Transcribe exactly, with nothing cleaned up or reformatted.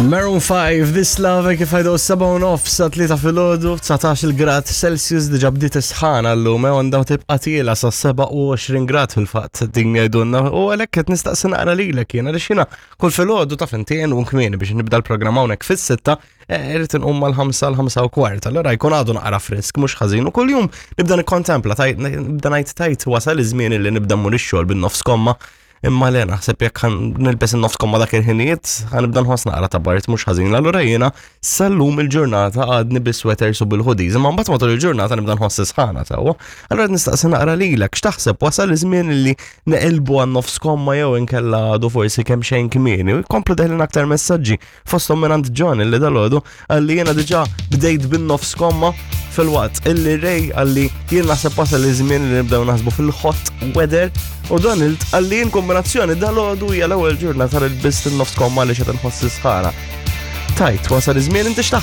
Maroon five, This Love, kif għajdu seba u nofs sa tlieta filgħodu, dsatax-il grad Celsius, diġà bdiet isħana llum, u għandha tibqa' tiela' sa sebgħa u għoxrin grad fil-fatt din jgħidulna, u għalhekk qed nistaqsi naqra lilek jien, għaliex jiena kull filgħodu, taf inti, u kmieni biex nibda l-programm hawnhekk fis-sitta, eh, irrid inqum mal-ħamsa, l-ħamsa u kwart, allura jkun għadu naqra frisk, mhux ħażin, u kuljum nibda nikkontempla, tajt, nibda ngħid tajt wasal iż-żmien li nibda mmur ix-xogħol bin-nofs komma. Imma le, naħseb jekk ħa nilbes in-nofs komma dak il-ħinijiet, ħa nibda nħoss naqra ta' bard mhux ħażin. Allura jiena sal-lum il-ġurnata għadni bis-sweaters u bil-hoodies, imma mbagħad matul il-ġurnata nibda nħoss sħana sewwa. Allura nistaqsi naqra lilek, x'taħseb, wasal iż-żmien li neqilbu għan-nofs komma jew inkella għadu forsi kemm xejn kmieni? U jkomplu deħlin aktar messaġġi, fosthom minn John illi dalgħodu qalli jiena diġà bdejt bin-nofs komma, filwaqt illi Ray qalli jien naħseb wasal iż-żmien li nibdew naħsbu fil-hot weather, u Donald qalli jien kombinazzjoni dalgħodu hija l-ewwel ġurnata li lbist in-nofs komma li qed inħoss sħana. Tajt, wasal iż-żmien, inti x'taħseb?